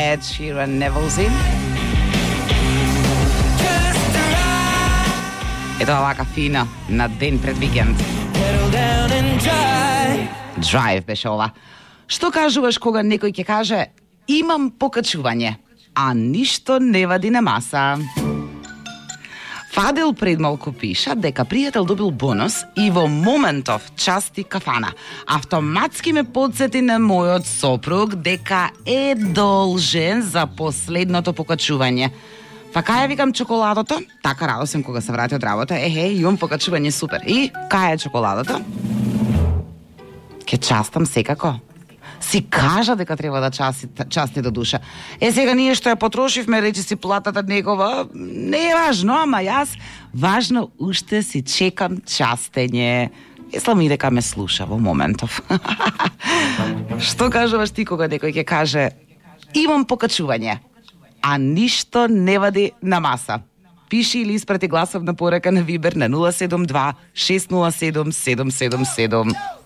Ed Sheeran, Neville's in. Ето овака фина на ден пред викенд. Drive беше ова. Што кажуваш кога некој ќе каже имам покачување, а ништо не вади на маса? Фадил пред малку пиша дека пријател добил бонус и во моментов части кафана. Автоматски ме подсети на мојот сопруг дека е должен за последното покачување. Па кај викам чоколадото? Така радосен кога се врати од работа. Имам покачување супер. И кај е чоколадото? Ке частам секако. Си кажа дека треба да части до душа. Сега ние што ја потрошивме, речи си платата негова, не е важно, ама јас важно уште си чекам частење. Мислам и дека ме слуша во моментов. Што кажуваш ти кога некој ќе каже имам покачување, а ништо не вади на маса? Пиши или испрати гласовна порака на Вибер на 072 607 777.